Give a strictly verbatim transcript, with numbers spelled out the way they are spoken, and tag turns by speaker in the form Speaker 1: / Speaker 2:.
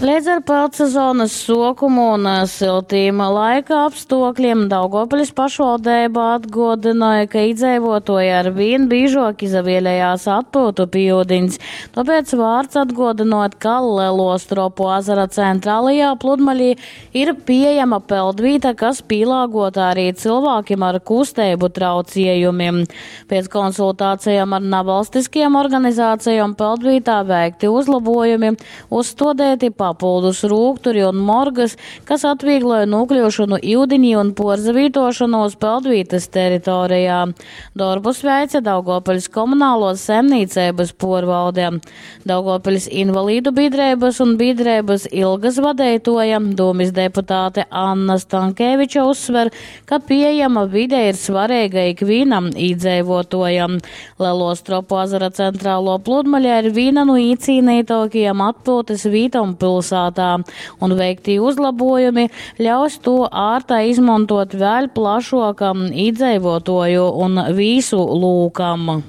Speaker 1: Leidz ar peldsezonas suokumu un syltīm laika apstuokļiem Daugovpiļs pašvaldeiba atguodynoj, ka idzeivuotuoji arvīn bīžuok izavielejās atpyutu pi iudiņs. Tuopēc vārts atguodynuot, ka Leluo Stropu azara centrālajā pludmalī ir pieejama peldvīta, kas pīlāguota arī cilvēkiem ar kusteibu trauciejumiem. Pēc konsultācijām ar navalstiskajām organizācijām peldvītā veikti uzlabojumi, uzstuodēti papildus rūkturi un morgas, kas atviegloja nokļūšanu iudiņī un porzavītošanos peldvītas teritorijā. Dorbus veica Daugovpiļs komunālos saimnīceibas porvalde. Daugovpiļs invalīdu biedrības un biedrības Ilgas vadeitoja, dūmis deputāte Anna Stankeviča uzsver, ka pieejama vide ir svarīga ikvienam iedzīvotājam. Lielo Stropu azara centrālo pludmaļa ir viena no īcīnītākajām atpūtas vītom pilsētā, un veiktī uzlabojumi ļaus to ārtai izmantot vēl plašākam iedzīvotāju un vīsu lūkam.